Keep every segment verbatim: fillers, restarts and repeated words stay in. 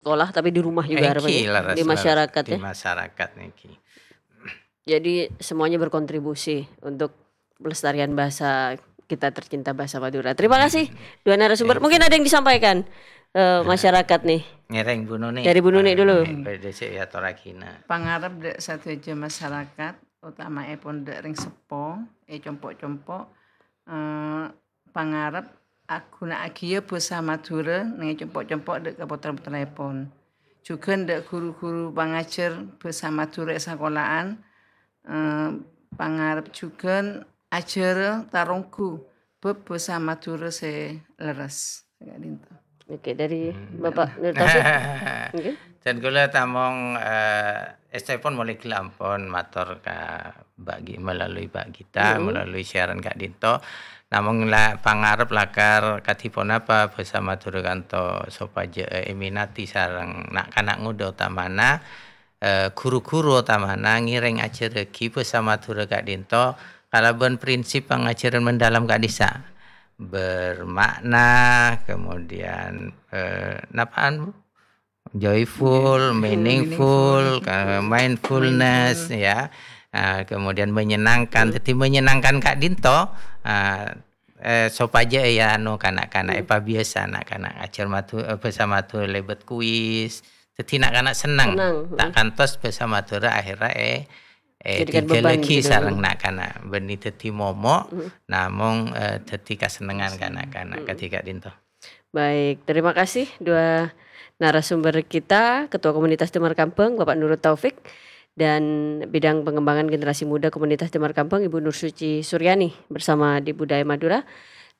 sekolah, tapi di rumah juga Èngghi, harapannya. Leres, Di leres. masyarakat, Di ya. masyarakat nèngghi. Jadi, semuanya berkontribusi untuk pelestarian bahasa kita tercinta, bahasa Madura. Terima kasih, Hmm. dua narasumber. Thank Mungkin you. ada yang disampaikan, eh, Nah. masyarakat nih. Ngèrèng Bu Nuni. Dari Bu Nuni Nah, dulu. eh, bâdâ sè èatorraghina. Pangarep dâ' sadhâjâ masyarakat, otama'èpon dâ' rèng seppo, è compo'-compo', eh, pangarep aghuna'aghiyâ bhâsa Madhurâ neng è compo'-compo' dâ' ka pottra-pottra'èpon. Jhughân dâ' ru-ghuru pangajhâr bhâsa Madhurâ è sakola'an, eh, pangarep jhughân ajhârâ taronggu bhâb bhâsa Madhurâ sè lerres. Ka'dinto. Oke, dari Hmm. Bapak Nur Taufik. Oke. Dan kaulâ tamong, eh, èstèpon molè ghellâ' ampon mator ka Mbak Gi-, melalui Mbak Gita, Mm-mm. melalui siaran ka'dinto. Namong la-, pangarep lakar kadhi ponapa bhâsa Madhurâ ka'dinto sopajâ, eh, èminati sareng na'-kana' ngodâ otamana, eh, ru-ghuru otamana ngèrèng ajhârraghi bhâsa Madhurâ ka'dinto kalabân prinsip pangajhârân mendalam ka'dissa'. Bermakna, kemudian, eh, napa'an, Bu? Joyful, Iya. meaningful, Meaningful. ka-, mindfulness, Mindful. ya. Ah, kemudian menyenangkan. Hmm. Dhâddhi menyenangkan ka'dinto, ah, eh, sopajâ ya, anu, kana'-kana' Hmm. èpabiyasa na'-kana' ajhâr Madhu-, eh, bhâsa Madhurâ lèbât kuis. Dhâddhi na'-kana' senneng. Senneng, Ta' hmm. kantos bhâsa Madhurâ akhirnya, eh, eh, Jadikan beban digalagi gitu. sareng na'-kana'. Bânnè dhâddhi momok, Hmm. namong, eh, dhâddhi kasennengngan Senneng. ka na'-kana'. Hmm. Kadhi ka'dinto. Baik, terima kasih dua narasumber kita, Ketua Komunitas Damar Kambhâng, Bapak Nurul Taufik, dan Bidang Pengembangan Generasi Muda Komunitas Damar Kambhâng, Ibu Nur Suci Suryani, bersama di Budaya Madura.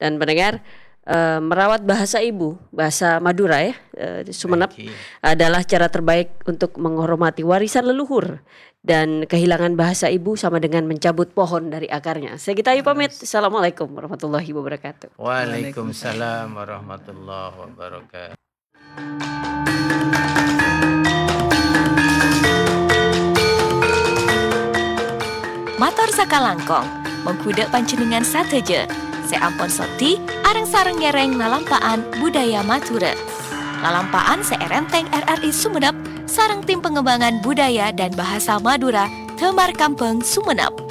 Dan pendengar, eh, merawat bahasa ibu, bahasa Madura ya, eh, Sumenep, Baik. adalah cara terbaik untuk menghormati warisan leluhur. Dan kehilangan bahasa ibu sama dengan mencabut pohon dari akarnya. Saya Gita Ayu pamit. Yes. Assalamualaikum warahmatullahi wabarakatuh. Waalaikumsalam warahmatullahi wabarakatuh. Mator sakalangkong, mongghu dâ' panjhennengngan sadhâjâ sè ampon soddhi areng-sareng ngèrèng lalampa'an budaya Madhurâ. Lalampa'an sè èrèntèng R R I Sumenep sareng Tim Pengembangan Budaya dan Bahasa Madura Damar Kambhâng Sumenep.